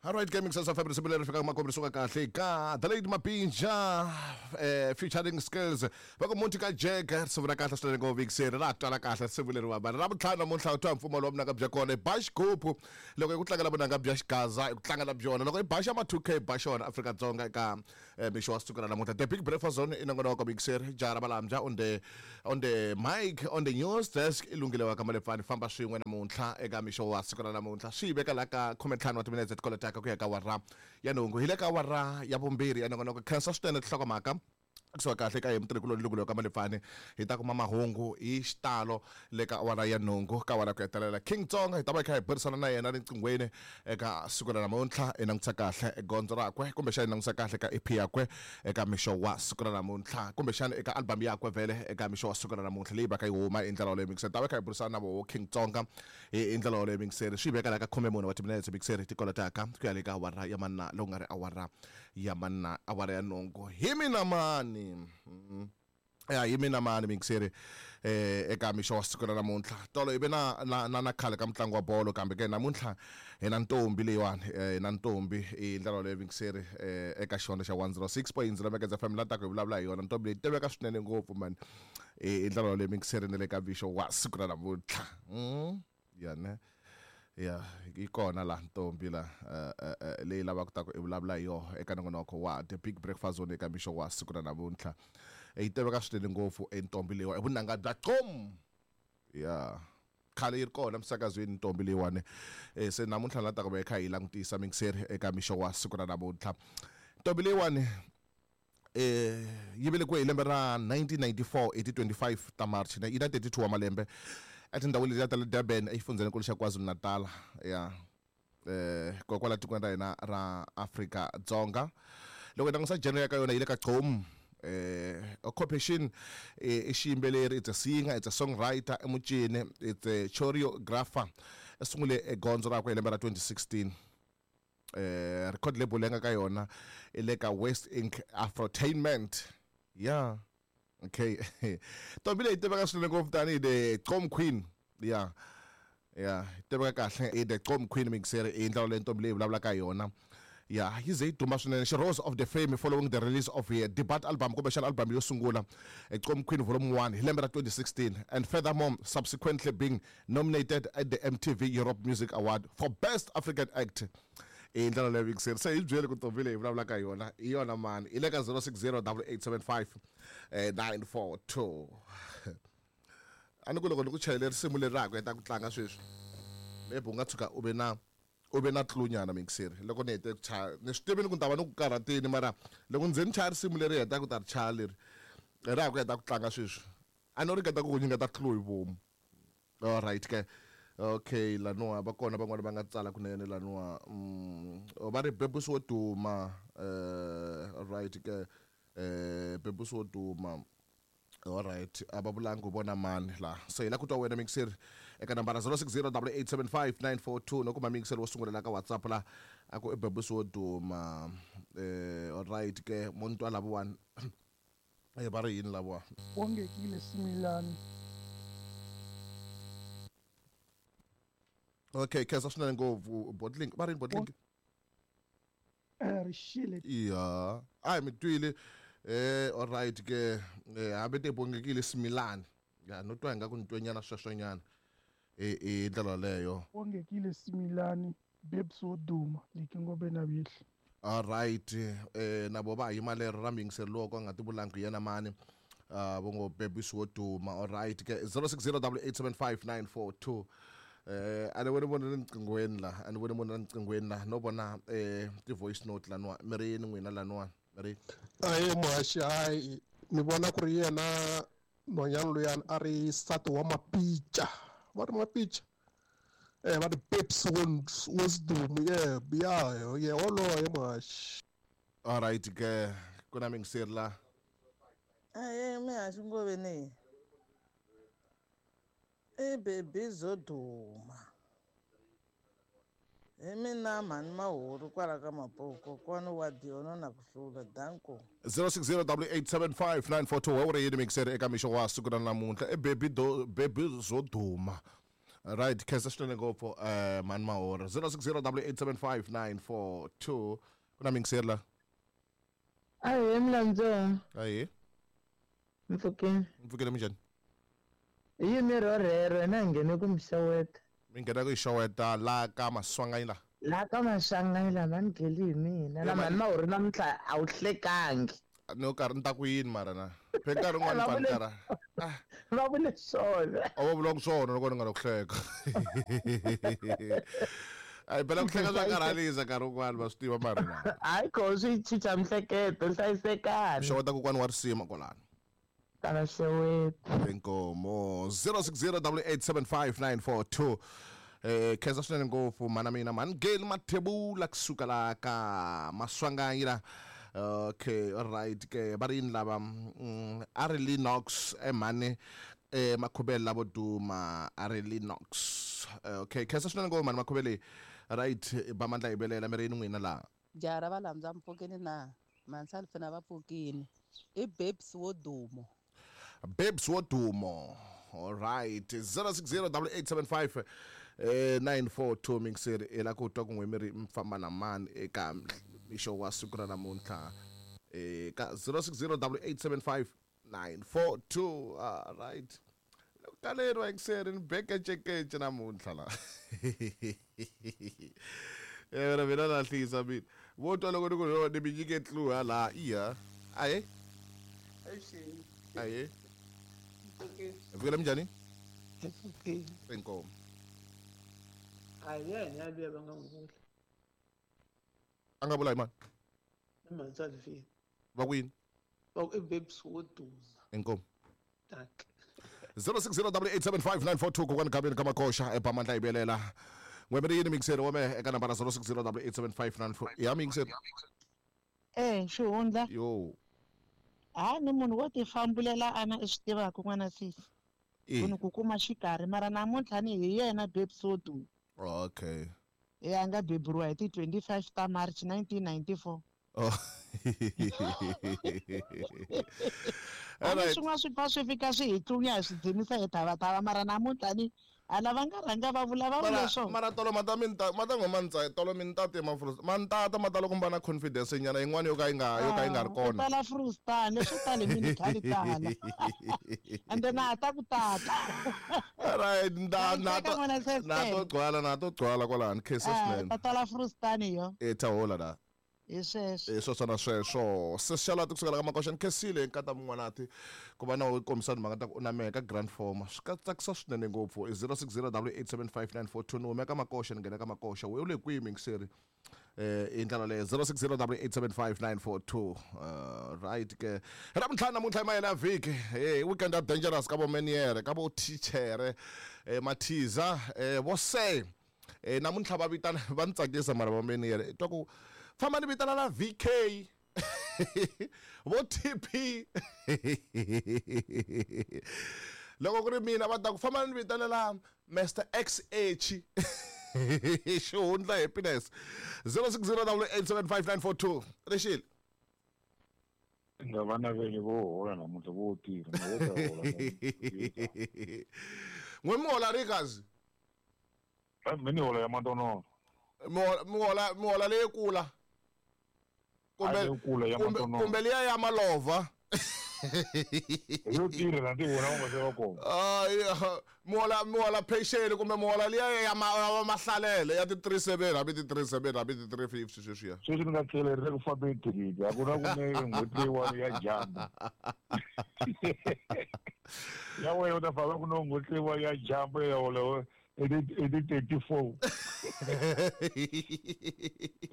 Alright, Gaming Sense of risimu leri fikaka makumu ri suka kahle ka The Lady Mapinja featuring Skills va ku muti ka Jack risimu ra kahle swinene ngopfu vikiseri ra twala kahle risimu leri wa ra vutlhanu namuntlha u twa mpfumawulo wa vunanga bya kona i ba xigubu loko i ku tlangela vunanga bya xigaza i ku tlangela byona loko i ba xa ma 2K ba xona Afrika-Dzonga eka mixo wa siku ra namuntlha The Big Breakfast Zone i nongonoko mikiseri jaha ra Malambya on the on the mic on the news desk i lunghile wa ka Malepfani famba swin'we namuntlha eka mixo wa siku ra namuntlha swi yi veka la ka khumentlhanu wa timinetse ti kolotaka ku ya ka awara ya nhungu hi le ka awara ya vumbirhi ya nongonoko khensa swinene tinhlokomhaka kusuka kahle ka hi mutirhikuloni lunghile wa ka Malepfani hi ta kuma mahungu hi xitalo le ka awara ya nhungu ka awara ku hetelela King Tsonga hi ta va hi kha hi burisana na yena riqinghweni eka siku ra namuntlha hi langutisa kahle gondzo rakwe kumbexana hi langutisa kahle ka EP yakwe eka mixo wa siku ra namuntlha kumbexana eka album yakwe vhele eka mixo wa siku ra namuntlha leyi va ka yi huma hi ndlela yoleyo mixer ta va kha hi burisana na voho King Tsonga hi ndlela yoleyo mixer swi veka la ka 14 wa timinetse mixer ti kolotaka ku ya le ka awara ya manna lowu nga ri awara ya manna awara ya nhungu hi mina mani ya hi mina mani mingiseri eka mixo wa siku ra namuntlha tolo hi ve na na na na khale ka mutlangi wa bolo kambe ke namuntlha hi na ntombi leyiwani hi na ntombi hi ndlela yoleyo mingiseri eka xihondzo xa 106.0 Mekeza FM la taka hi vulavula hi yona ntombi leyi tiveka swinene ngopfu mani hi ndlela yoleyo mingiseri na le ka mixo wa siku ra namuntlha ya ne ya yi kona la ntombi la leyi lavaka ta ku i vulavula hi yoho eka nongonoko wa The Big Breakfast Zone eka mixo wa siku ra namuntlha yi tiveka swinene ngopfu entombi leyiwa i vunanga bya qom ya khale yi ri kona emisakazweni ntombi leyiwani se namuntlha la ta ku va yi kha yi langutisa mingiseri eka mixo wa siku ra namuntlha ntombi leyiwani yi velekiwe hi lembe ra 1994 hi ti 25 ta March yi na 32 wa malembe etindhawini letiya ta le Durban exifundzheninkulu xa KwaZulu-Natal ya kokwala tikweni ra hina ra Afrika Dzonga loko hi langusa genre ya ka yona yi le ka gqom occupation i xiyimbeleri it's a singer it's a songwriter i mucini it's a choreographer i sungule e gondzo rakwe hi lembe ra 2016 record label leyi nga ka yona i le ka West Ink Afrotainment ya okay ntombi leyi tiveka swinene ngopfu tanihi the Gqom Queen ya ya tiveka kahle i the Gqom Queen mixer i ndlela leyi ntombi leyi vulavulaka hi yona ya yi ze yi duma swinene she rose of the fame following the release of her debut album kumbexana album yo sungula Gqom Queen Volume 1 hi lembe ra 2016 and furthermore subsequently being nominated at the MTV Europe Music Award for Best African Act hi ndlela leyo yingiseri se hi byeli ku ntombi leyi vulavulaka hi yona hi yona mani hi le ka 060 875 942 a ni ku loko ni ku chayele risimu leri ra ha ku heta ku tlanga sweswi maybe u nga tshuka u ve na u ve na clue-nyana mixeri loko ni hete ku chaya ni swi tivini ku ni ta va ni ku karhatini mara loko ni ze ni chaya risimu leri hetaka ku ta ri chaya leri ra ha ku heta ku tlanga sweswi a no ringeta ku ku nyiketa clue hi vomu Alright ke. Okay laniwa va kona van'wana va nga tsala kunene laniwa va ri Bebus wo duma alright ke Bebus wo duma alright a va vulangi ku vona mani la se hi la ku twa wena mixer eka nambara 0608875942 no kuma mixer wo sungula la ka WhatsApp la a ku i Bebus wo duma alright ke mo ni twa lavawani va ri yini lavawa Bongekile Similani. Okay khensa swinene ngopfu bottling va ri yini bottling Rixile ya a hi mi twile alright ke hambi te Bongekile Similani ya no twa ingaku ni twenyana sweswonyana hi ndlela yaleyo Bongekile Similani Babes wo duma Liki Ngobe na Vihli. Alright na vo va ha yima lero ra muyingiseri lowo ka nga ti vulangi ku yena mani vo ngo Babes wo duma alright ke 0608875942 a ni voni munhu rinqinghweni la a ni voni munhu rinqinghweni la no vona ti-voice note laniwa mi ri yini n'wina laniwa mi ri Ahee muhaxi hayi ni vona ku ri yena nhwanyana luyani a ri nsati wa Mapica va ri Mapica va ri Babes Wodumo yeah ya ye woloye muhaxi. Alright ke ku na miyingiseri la. Ahee muhaxi Ngoveni i Baby Zoduma hi mina mhani Mahuru kwala ka Mapuku kokwani wa Diono na ku hlula danko. 0608875942 wa wu ri yini mixer eka mixo wa siku ra namuntlha i Baby do Baby Zoduma. Right, khensa swinene ngopfu mhani Mahora. 0608875942 ku na mingiseri la. Ahee Mlandzo. Ahee. Mpfukeni. Mpfukeni minjhani? Hi yini rorhero hina hi nghene ku mi xeweta. Mi nghena ku yi xeweta la ka Maswanganyi la. La ka Maswanganyi la mhani Geli hi mina. La mhani Mahori namuntlha a wu hlekangi. No karhi ni ta ku yini mara na. Phe nkarhi wun'wana ni karhi. Va vule swona. A va vulanga swona loko ni nga ri ku hleka. Ayi phela ku hleka swa karhalisa nkarhi wun'wana va swi tiva mara na. Hayi kho swi chicha mihleketo hlayisekani. Xeweta kokwani wa risima kwalano. Tala xeweta. Inkomo 0608875942. Khensa swinene ngopfu mhana mina mhani Geli Mathebula kusuka la ka Maswanganyi la. Okay, alright ke va ri yini lava a ri Linox emhani Makhuvele lavo duma a ri Linox. Okay, khensa swinene ngopfu mhani Makhuvele. Right, ba mandla hi velela mi ri yini n'wina laha. Jaha ra valandza mpfukeni na mhansalfina va pfukini i Babes wo dumo. Babes wo dumo. All right. 06088759 942 mingiseri i la ku twa ku n'we mi ri mi famba na mani eka mixo wa siku ra namuntlha ka 0608875942. All right. Loko kaleriwa yingiseri ni bekecekece namuntlha la. Wena mina lahlisa mina. Vo twa loko ni ku ni mi nyike clue hala iya. Aye. Aye. Vukela minjhani? Inkomo. Hayi yena yaliya va nga n'wi vula. A nga vula hi mani? I Mhansalfini. Va ku yini? Va ku i Babes wo duma. Inkomo. Dankie. 0608875942 kokwani Gabeni ka Makoxa eBamandla hi velela. N'we mi ri yini mingiseri wa mehe eka nambara 0608875942. Ya mingiseri. Xihundla. Yo. Ha ni munhu wo tifambulela ana i swi tivaka n'wana sisi. Ku ni ku kuma xikarhi mara namuntlha ni hi yena Babes wo duma. Okay. Ya nga beburiwa hi ti 25 ta March 1994. Oh. All swin'wana swi pfa swi fika swi hi tlunya hi swi dzimisa hi thavatava mara namuntlha ni hala va nga rhanga va vula va vule swona. Mara tolo mata mi ta mata n'we ma ni tolo mi ni tate ma ma ni tata ma tala ku va na confidence nyana yin'wana yo ka yi nga yo ka yi nga ri kona. Tala frustan leswo tala mi khali tala. And then a ta ku tata. Alright, na na to na to gcwala na to gcwala kwalano khensa swinene. Ta tala frustan yo. E ta hola la. Hi sweswo. Hi sweswo na sweswo. Sesi Xalati kusukela ka Makoxa ni khensile nkata mun'wanati ku va na u kombisa timhaka ta ku u na mehe ka Grand Forma. Swi ka tsakisa swinene ngopfu. I 0608875942 ni hume ka Makoxa ni nghena ka Makoxa. We u le kwihi mingiseri? Hi ndlela leyo 0608875942. Right ke. Ravutlhanu namuntlha hi mahelo ya vhiki. Weekend ya dangerous ka vo meniere, ka vo thichere, mathiza, vo se. Namuntlha va vitana va ni tsakisa mara va meniere. Twa ku famba ni vitana na VK vo TP loko ku ri mina va ta ku famba ni vitanela Mr XH xihundla happiness 0608875942 rixile. Nga vana vele vo hola namuntlha vo tirha na vo ta hola. N'we mi hola ri kazi? Mi ni hola ya matonono. Mi hola leyikula. Kumbe liya ya malova. Yo tirha na ti vona u nga se va kona. Mi hola pension kumbe mi hola liya ya mahlalele ya ti 37 hambi ti 37 hambi ti 350 sweswiya. Sweswi ni nga tlhela ri ku fambe thikithi a ku na ku ne n'hweti leyiwani ya jamba. Ya wena u ta famba ku no n'hweti leyiwani ya jamba ya hola i ti 34.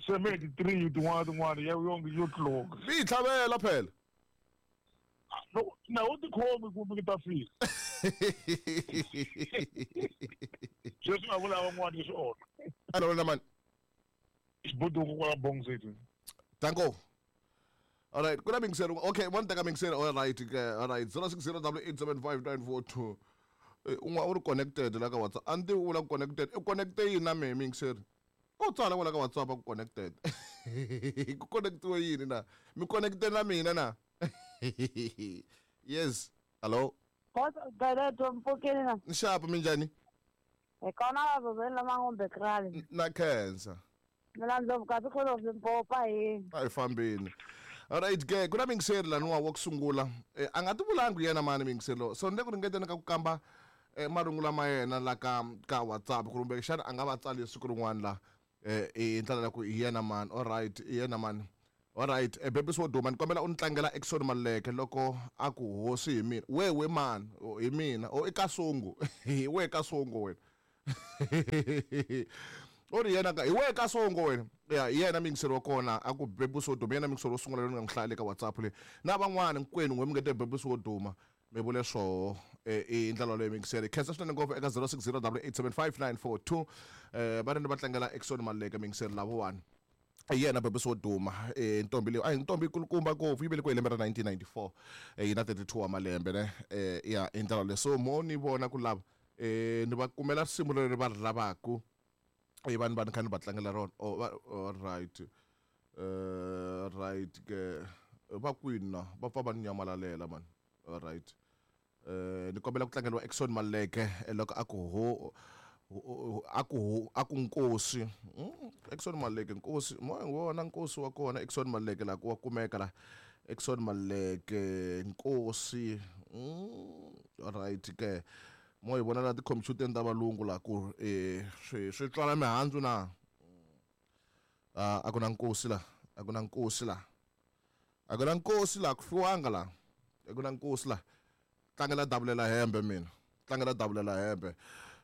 Se me ti 3 tin'wana tin'wana ya yo tluka. Mi yi tlhavela phela. No, na u tikhomi kumbe ki ta fika. Sweswi nga vula van'wana leswi onha. Hello na mani. Xibuduku kwala Bong City. Danko. All right, kuna mingiseri. Okay, one teka mingiseri. All right, all right. 0608875942. Un'wana u ri connected la ka WhatsApp. A ni tivi u vula ku connected. I connecte yini na mehe mingiseri? U tsala kwala ka WhatsApp ku connected. Ku connectiwe yini na? Mi connecte na mina na? Yes. Hello. Galeto mpfukeni na. Nxapu minjhani? Hi kona vavoveni lama krali. Na khensa. Mina Ndlovu kasi kholo Limpopo hi. A hi fambeni. Alright ke, ku na mingiseri laniwa wa ku sungula. A nga ti vulangi yena mani mingiseri lowu. So ni le ku ringeteni ka ku kamba marungula ma yena la ka WhatsApp kumbe xana a nga va tsali siku rin'wana la hi ndlela ya ku hi yena mani. Alright, hi yena mani. Alright, Bebisi wo duma ni kombela u ni tlangela Exon Maluleke loko a ku hosi hi mina. We we mani, hi mina. O i Kasungu. Hi we Kasungu wena. U ri yena ka hi we Kasongo wena. Ya hi yena mingiseri wa kona a ku Bebisi wo duma, yena mingiseri wo sungula loyi ni nga n'wi hlaya le ka WhatsApp leyi. Na van'wana hinkwenu n'we mi nge te Bebisi wo duma mi vule swoho i ndlela leyo mingiseri. Khensa swinene ngopfu eka 0608875942 va ri ni va tlangela Exon Maluleke mingiseri lavowani. Hi yena Bebisi wo duma ntombi leyi a hi ntombi kulukumba ngopfu yi velekiwe hi lembe ra 1994 yi na 32 wa malembe ne ya hi ndlela leyo. So mo ni vona ku lava ni va kumela risimu leri va ri lavaku i vanhu va ni kha ni va tlangela rona. Oh, right right ke va kwini na va pfa va ni nyamalalela mani. Alright ni kombela ku tlangeriwa Exon Maluleke loko a ku ho a ku a ku nkosi. Exon Maluleke nkosi mo wona nkosi wa kona Exon Maluleke la ku wa kumeka la Exon Maluleke nkosi. Alright ke mo hi vona la tikhompyuteni ta valungu la ku swi tswala mihandzu na a ku na nkosi la a ku na nkosi la a ku na nkosi la ku fiwanga la a ku na nkosi la tlangela davulela hembe mina tlangela davulela hembe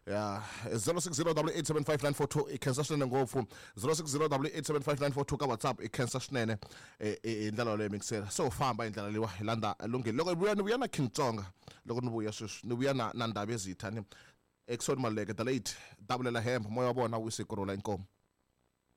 ya 0608875942 i khensa swinene ngopfu 0608875942 ka WhatsApp i khensa swinene hi ndlela yoleyo mingisela. So famba hi ndlela leyiwa hi landza lunghile loko vuya ni vuya na King Tsonga loko ni vuya sweswi ni vuya na Ndhavezitha ni Exon Maluleke the late davulela hembe moya wa vona wu siku rhula inkomu.